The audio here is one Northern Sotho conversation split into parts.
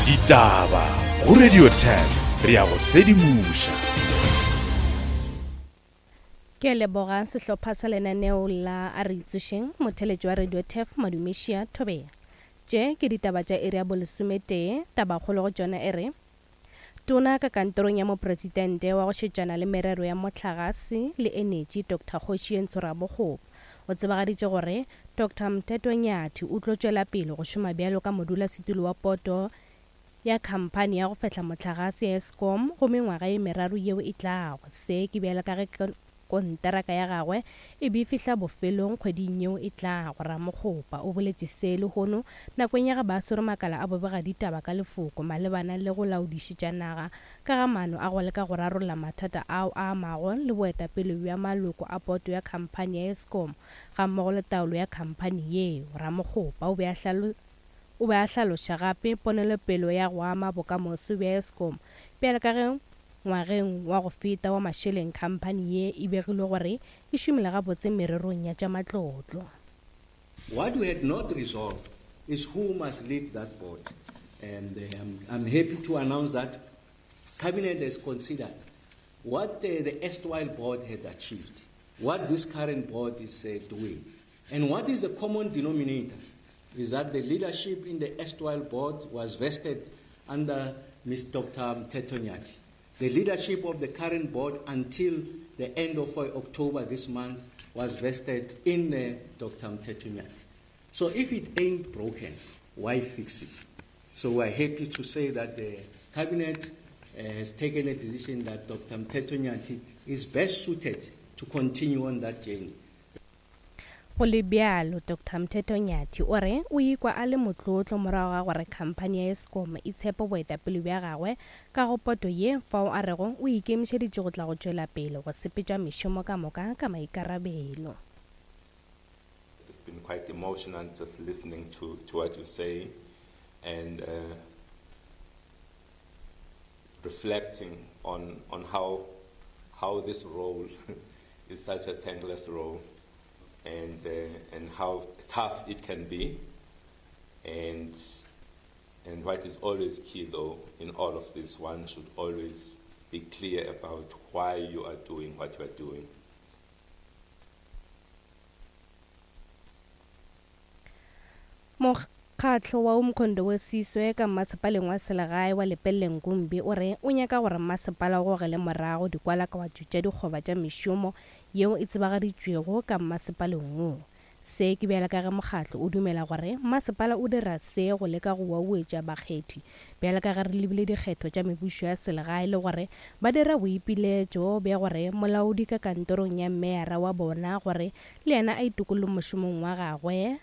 Ditaba go Radio 10 re ya go sedimoša. Ke a leboga sehlopha sa lenaneo la A Re Itsošeng, motheletši wa Radio Turf Madumešia Thobela. Tše ke ditaba tša iri ya bolesometee, tabakgolo go tšona e re, Tona ka kantorong ya Mopresidente wa go šetšana le merero ya mohlagase le enetši Doctor Kgoši Rabogopa o tsebagaditše gore Doctor Mthetho Nyathi o tlo tšwela pele go šoma bjalo ka modulasetulo wa poto ya khamphani ya go fehla mohlagase ya Eskom go mengwaga ye meraro yeo e tlago. Se ke bjalo ka ge konteraka ya gagwe e be e fihla bofelong kgweding yeo e tlago. Ramokgopa o boletše se lehono nakong ya ge ba swere makala a bobegaditaba ka lefoko malebana le go laodišetša naga ka ga maano a go leka go rarolla mathata ao a amago le boetapele bja maloko a poto ya khamphani ya Eskom gammogo le taolo ya khamphani yeo. Ramokgopa o be a O be a hlaloša gape ponelopelo ya go ama bokamoso bja Eskom bjalo ka ge ngwageng wa go feta wa mašeleng khamphani ye e begilwe gore e šomile gabotse mererong ya tša matlotlo. What we had not resolved is who must lead that board and I'm, I'm happy to announce that Cabinet has considered what the erstwhile board had achieved, what this current board is uh, doing, and what is the common denominator is that the leadership in the erstwhile board was vested under Ms. Dr. Mteto Nyati. The leadership of the current board until the end of October this month was vested in uh, Dr. Mteto Nyati. So if it ain't broken, why fix it? So we're happy to say that the cabinet uh, has taken a decision that Dr. Mteto Nyati is best suited to continue on that journey. Go le bjalo, Doctor Mthetho Nyathi o re o ikwa a le motlotlo morago ga gore khamphani ya Eskom e tshepe boetapele bja gagwe ka go poto ye fao a rego o ikemišeditše go tla go tšwela pele go sepetša mešomo ka moka ka maikarabelo. It's been quite emotional just listening to, to what you say and uh, reflecting on, on how, how this role is such a thankless role and, uh, and how tough it can be. And, and what is always key, though, in all of this, one should always be clear about why you are doing what you are doing. Mokgatlo wa Umkhonto we Siswe ka mmasepaleng wa selegae wa Lepelle Nkumbi o re o nyaka gore mmasepala o gogele morago dikwalakwatšo tša dikgoba tša mešomo yeo e tsebagaditšwego ka mmasepaleng wo. Se ke bjale ka ge mokgatlo o dumela gore mmasepala o dira se go leka go wauetša bakgethi bjale ka ge re lebile dikgetho tša mebušo ya selegae le gore ba dira boipiletšo bja gore molaodi ka kantorong ya meyara wa bona gore le yena a itokolle mošomong wa gagwe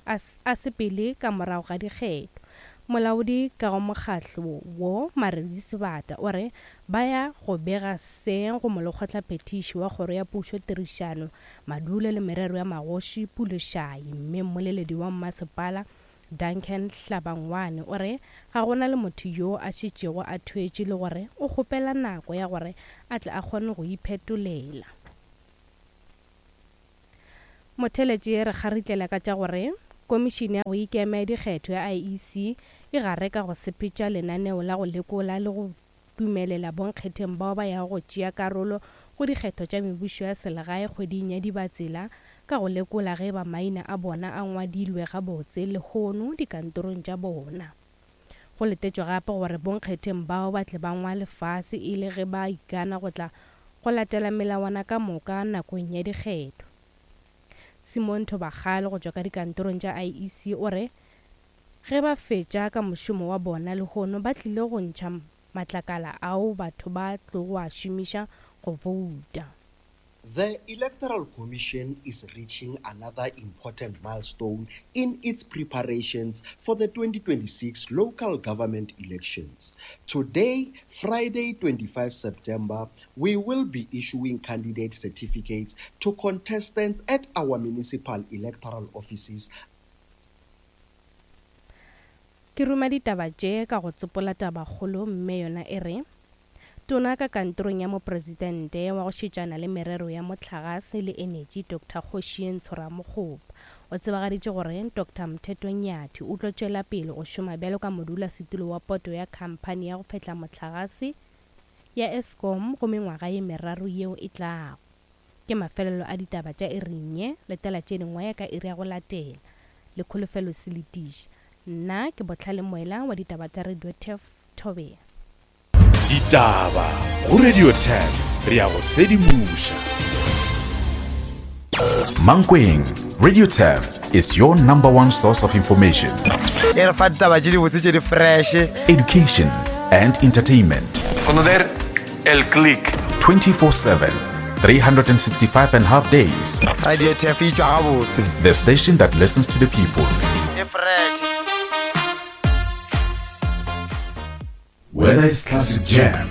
a, a sepele ka morago ga dikgetho. Molaodi ka go mokgatlo wo, Maredi Sebata, o re ba ya go bega se go molekgotlaphethiši wa Kgoro ya Pušo Tirišano, Madulo le Merero ya Magoši, Pule Shai, mme mmoleledi wa mmasepala, Duncan Hlabangwane, o re ga go na le motho yo a šetšego a thwetše le gore o kgopela nako ya gore a tle a kgone go iphetolela. Motheeletši re kgaritlela ka tša gore Komišene ya go Ikema ya Dikgetho ya IEC e gare ka go sepetša lenaneo la go lekola le go dumelela bonkgetheng bao ba yago go tšea karolo go dikgetho tša mebušo ya selegae kgweding ya Dibatsela ka go lekola ge eba maina a bona a ngwadilwe gabotse lehono dikantorong tša bona. Go letetšwe gape gore bonkgetheng bao ba tle ba ngwale fase e le ge ba ikana go tla go latela melawana ka moka nakong ya dikgetho. Simon Thobakgale go tšwa ka dikantorong tša IEC o re ge ba fetša ka mošomo wa bona lehono ba tlile go ntšha matlakala ao batho ba tlogo a šomiša go bouta. The Electoral Commission is reaching another important milestone in its preparations for the 2026 local government elections. Today, Friday, 25 September, we will be issuing candidate certificates to contestants at our municipal electoral offices Ke ruma ditaba tše ka go tsopola tabakgolo mme yona e re, Tona ka kantorong ya Mopresidente wa go šetšana le merero ya mohlagase le enetši Doctor Kgoši Ntsho Ramokgopa O tsebagaditše gore Doctor Mthetho Nyathi o tlo tšwela pele go šoma bjalo ka modulasetulo wa poto ya khamphani ya go fehla mohlagase ya Eskom go mengwaga ye meraro yeo e tlago. Ke mafelelo a ditaba tša iring ye, letela tše dingwe ka iri ya go latela. Le Kholofelo Seletiša. Nna ke Bohlale Moela wa ditaba tša Radio Turf, Thobela. Ditaba go Radio Turf, re a go sedimoša. Mankweng, Radio Turf is your number one source of information. E re fa ditaba tše dibotse tše di fresh. Education and entertainment. Conocer el click. 24/7, 365 and half days. Radio Turf e tšwa gabotse. The station that listens to the people. E fresh. Whether it's classic jams,